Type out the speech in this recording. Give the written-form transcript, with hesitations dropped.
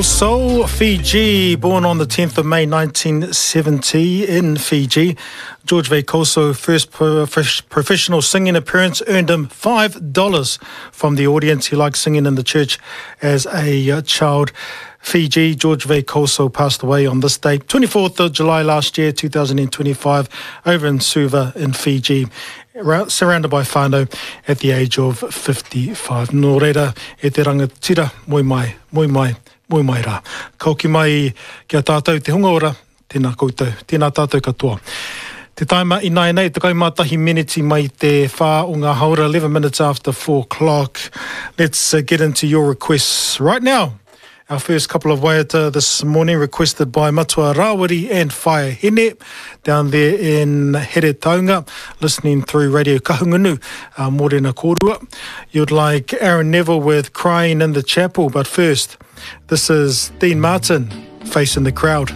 Soul, Fiji, born on the 10th of May 1970 in Fiji. George Veikoso first professional singing appearance earned him $5 from the audience. He liked singing in the church as a uh, child. Fiji, George Veikoso passed away on this date, 24th of July last year, 2025, over in Suva in Fiji, surrounded by whānau at the age of 55. Nō reira, e te rangatira, moe mai, moe mai, moe mai rā. Ka hoki mai ki a tātou te hunga ora, tēnā koutou, tēnā tātou katoa. Te taima ināianei, 11 meneti mai te whā o ngā haora, 11 minutes after 4 o'clock. Let's uh, get into your requests right now. Our first couple of waiata this morning requested by Matua Rawiri and Whaea Hene down there in Heretaunga, listening through Radio Kahungunu, uh, Morena Kōrua. You'd like Aaron Neville with Crying in the Chapel, but first, this is Dean Martin, Facing the Crowd.